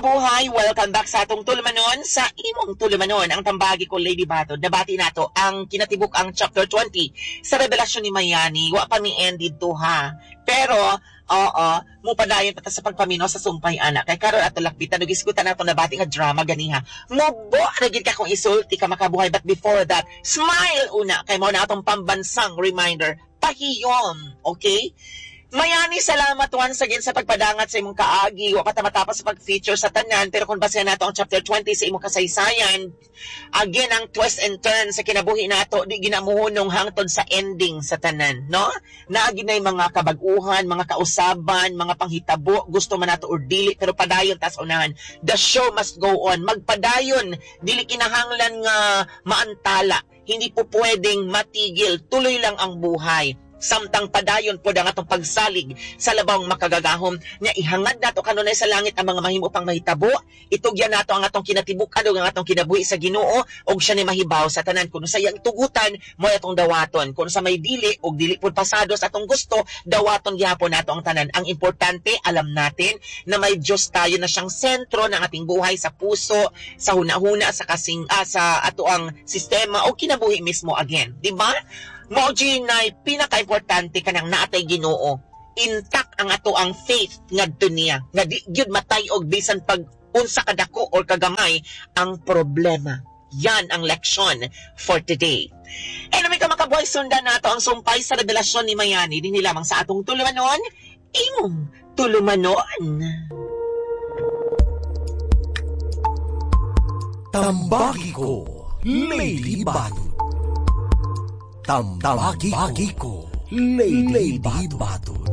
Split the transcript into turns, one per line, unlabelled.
Makabuhay, welcome back sa atong tulumanon, sa imong tulumanon, ang Tambagi Ko, Lady Batod. Nabati nato ang kinatibuk ang chapter 20 sa Revelasyon ni Mayani. Wa pa mi end didto ha. Pero, oo, mupadayon pa ta sa pagpaminaw sa sumpay ana. Kay karon ato lakbitan ug isgutan nato nabati nga drama ganiha. Mubo na gid ka kung isulti ka, makabuhay. But before that, smile una kay mao na atong pambansang reminder. Pahiyom, okay? Mayani, salamat once again sa pagpadangat sa imong kaagi. Wa pa ta matapos sa pag-feature sa tanan, pero kung basehan nato ang chapter 20 sa imong kasaysayan, again, ang twist and turn sa kinabuhi nato, di ginamuhunong hangtod sa ending sa tanan, no? Naagi na mga kabag-uhan, mga kausaban, mga panghitabo, gusto man nato or dili, pero padayon tas unahan. The show must go on. Magpadayon, dili kinahanglan nga maantala. Hindi po pwedeng matigil. Tuloy lang ang buhay samtang padayon po ang atong pagsalig sa labawng makagagahom nya. Ihangad nato kanunay sa langit ang mga mahimo pang mahitabo. Itugyan nato ang atong kinatibuk-an ug ang atong kinabuhi sa Ginoo ug siya ni mahibaw sa tanan. Kun sa iyang tugutan mo atong dawaton, kun sa may dili ug dili pud pasado sa atong gusto, dawaton gihapon nato ang tanan. Ang importante, alam natin na may Dios tayo na siyang sentro ng ating buhay, sa puso, sa hunahuna, sa kasing sa ato ang sistema o kinabuhi mismo again, di ba? Mao nay pinaka-importante kanang naatay Ginoo. Intact ang ato ang faith ngadto niya. Nga di gyud matay-og bisan pag unsa kadako or kagamay ang problema. Yan ang leksyon for today. Anyway, ka makabuhay, sundan nato ang sumpay sa Revelasyon ni Mayani dinhi lamang sa atong tulumanon, imong tulumanon.
Tambagi Ko, Lady Batod. Tambagi Ko, Lady Batod.